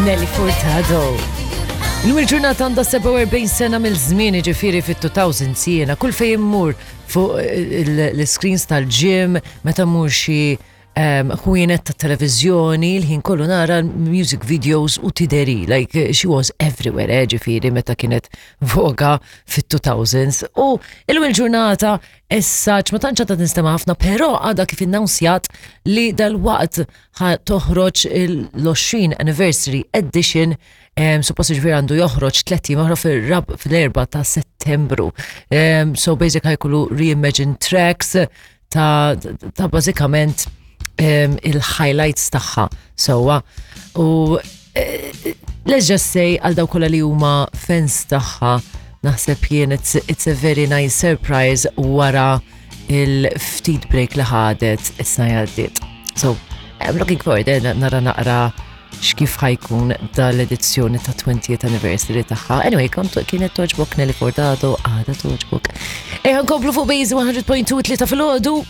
Nelly Furtado. Illum il-ġurnata għandha 47 sena mill-żmien ġifieri fit-2000 jiena kull fejn immur fuq l-screens tal-gym meta mmur xi ħwienet ta' televiżjoni, l-ħin kollu nara music videos u tideri, like she was everywhere, ġifieri meta kienet voga fit-2000s. U illum il-ġurnata issa ma tantx għadha tinstema' ħafna, però għadha kif innawnsjat li dal-waqt toħroġ l-20 anniversary edition. Suppost ġifieri għandu joħroġ 3 oħra fil-4 ta' Settembru. So basic ħa jkollu reimagined tracks ta' bażikament il-highlights tagħha sewwa. U let's just say għal dawk kollha li huma fans tagħha naħseb jien it's a very nice surprise wara il-ftit break li ħadet is-sena għaddiet. So, I'm looking forward, nara naqra x'kif ħa jkun dal-edizzjoni ta' 20th anniversary tagħha. Anyway, kont kienet togħġbok Nelly Furtado, għadha togħġbok. Ejja nkomplu fuq Base 100.2 3 filgħodu.